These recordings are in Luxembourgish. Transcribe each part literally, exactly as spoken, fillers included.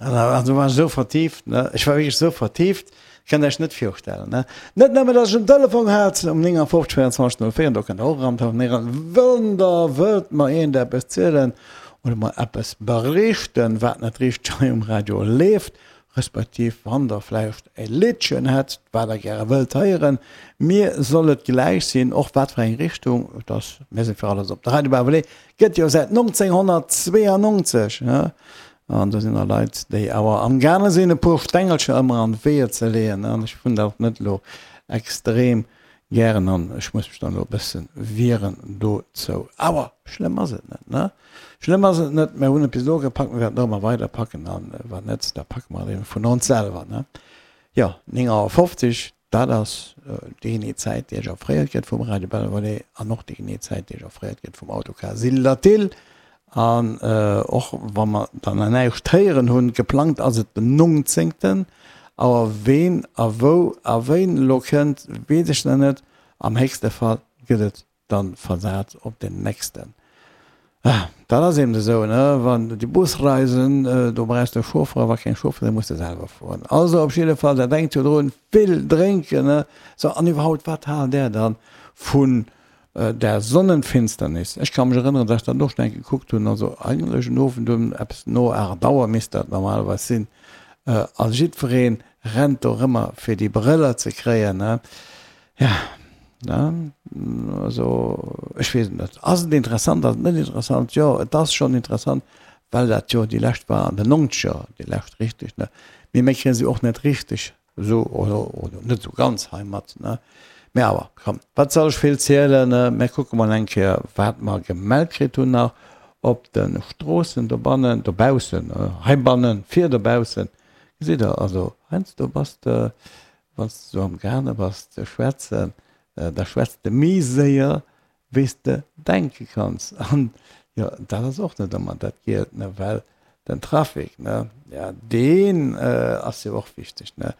Also war ech esou vertieft, ne? Ech war wierklech esou vertieft, kënnt Iech net virstellen, ne? Net nëmmen, dass ech en Telefon hat um néng a fofzeg véierundzwanzeg null véier, do kënnt Der och eran telefonéieren, wann Der wëllt mer iergend eppes zielen oder mer eppes berichten, wat net richteg hei um Radio leeft, respektiv wann Der vläicht e Liddchen hätt, wat Der gäre wëllt héieren. Mir soll et gläich sinn, och wat fir eng Richtung, et ass, mir si fir alles op. De Radio Bärbelé gëtt jo säit nonzénghonnertzweeanonzeg, ne? An do sinn der Leit, déi awer amgaange sinn, e puer Stengelcher ëmmer an d'Weeër ze leeën. An ech hunn dat net elo extrem gären an ech muss mech dann elo e bësse wieren dozou. Awer schlëmm ass et net, ne? Schlëmm ass et net. Mir hunn et bis elo gepackt, mir wäerten och ëmmer weider packen. A wann net, da packe mer et ebe vun ons selwer, ne? Jo, néng Auer fofzeg. Dat ass déi genee Zäit, déi Iech offréiert gëtt vum Radio Belvedere an och déi genee Zäit, déi Iech offréiert gëtt vum Autocar Syl-Latil. An och wa mer dann nach näischt héieren hunn, geplangt ass et den nongzéngten Auer. Ween a wou a wéin elo kënnt, weess ech nach net. Am héchste Fall gëtt et dann versat op den nächsten. Dat ass eben esou, ne, wann déi Busreisen, do brauchs de e Chauffeur, a wa keng Chauffeur sinn, muss de selwer fueren. Also op jidde Fall, dat denkt jo drun, vill drénken, ne. Sou, an iwwerhaupt, wat haalt där dann vun der Sonnenfinsternis? Ech ka mech erënneren, dass ech dat och schon eng Kéier gekuckt hunn, also eigentlech en Owend um eppes no aacht Auer misst dat normalerweis sinn, a jiddweree rennt dorëmmer fir déi Brëller ze kréien, ne. Ja, ne, also ech weess et net. Ass et interessant, ass et net interessant? Jo, et ass schonn interessant, well dat jo déi lescht war an den Nonzeger, déi lescht richteg, ne. Mee mir kréie se och net richteg esou oder, oder net esou ganz heimat, ne. Mee awer, komm, wat soll ech vill zielen, ne. Mir kucke mol eng Kéier, wat mer gemellt kritt hunn nach op de Stroossen dobannen, dobaussen, heibannen, vir dobaussen. Gesitt Der, also heiansdo bass de Wann s de sou am gaange bass ze schwätzen, da schwätz de méi séier wéi s de denke kanns. An jo, dat ass och net ëmmer dat Gielt, ne, well den Trafic, ne, ja, deen ass jo och wichteg, ne.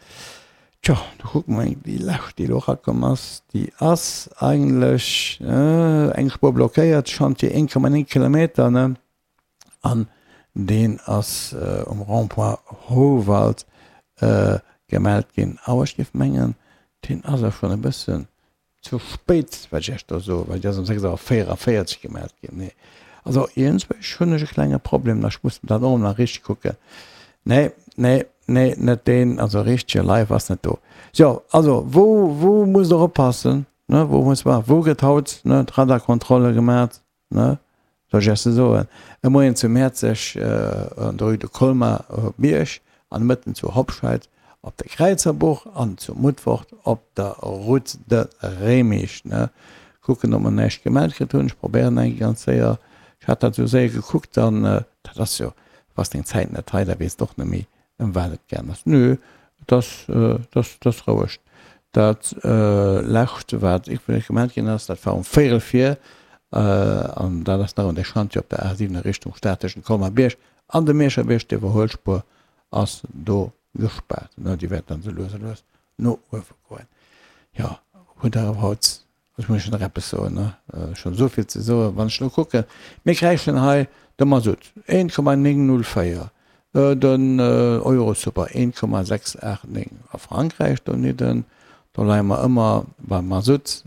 Tjo, do kucke mer eng, déi lescht, déi elo erakomm ass, déi ass eigentlech eng Spuer blockéiert, Chantier een Komma néng Kilometer, ne. An deen ass um Rond-point Houwald gemellt ginn. Awer ech géif mengen, deen ass och schonn e bëssen ze spéit, wat ech Iech do soen, well déi ass um sechs Auer véieranvéierzeg gemellt ginn. Nee, also iergendzwousch hunn ech e klenge Problem nach, ech muss dat och nach richteg kucken. Nee, nee, nee, net deen, also richtege live ass net do. Jo, also wou, wou musst Der oppassen, ne, wou muss, wou gëtt haut, ne, d'Radarkontrolle gemat, ne? Soll ech Iech se soen? E Moien zu Mäerzeg an der Rue de Colmar op Miersch, an de Mëtten zu Hobscheid op der Kräizerbuch an zu Mutfort op der Route de Remich. Ne? Kucken, ob mer näischt gemellt kritt hunn. Ech probéieren eng Kéier ganz séier. Ech hat dat esou séier gekuckt an dat ass jo, bass deng Zäit net hei, da weess de och net méi, ëm wat et gaang ass. Nö, et ass, et ass, et ass roueg. Dat lescht, wat iwwregens gemellt ginn ass, dat war um véierel vir, an dat ass nach un de Schantje op der A siwen a Richtung Stad tëschent Colmar-Bierg an dem Mierscher Bierg. D'Iwwerhuelspuer ass do gespaart. Déi wäert dann esou lues a lues no uewe goen. Jo, hutt Der awer haut Ech muss nach eppes soen, ne? Ech hunn esou vill ze soen. Wann ech elo kucken, mir kréichen hei de Masutt, eent Komma néng null véier, den Eurosuper, eent Komma sechs aacht néng. A Frankräich donidden, do leie mer ëmmer beim Masutt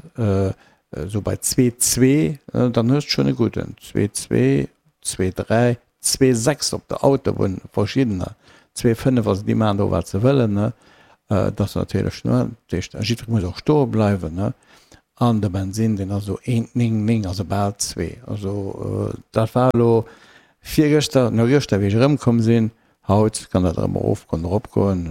esou bei zwee zwee, dann hues de schonn e gudden, zwee zwee, zwee dräi, Zwee sechs op der Autobunn, verschiddener zwee fënnef, also déi maachen do wat se wëllen, ne, dat ass natierlech, ne, dat heescht jiddweree muss och stoe bleiwen, ne, an de Bensinn deen ass esou eent néng néng, also bal zwee, also dat war elo virgëschter, no gëschter wéi ech erëmkomm sinn, haut kann dat erëm erofgoen, eropgoen,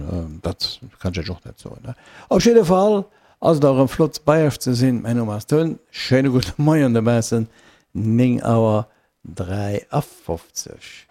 dat kann ech iech och net soen, ne. Op jidde Fall ass et erëm flott bei iech ze sinn, mäin Numm ass Tun, schéine gudde Moien dobaussen, néng Auer dräiafofzeg.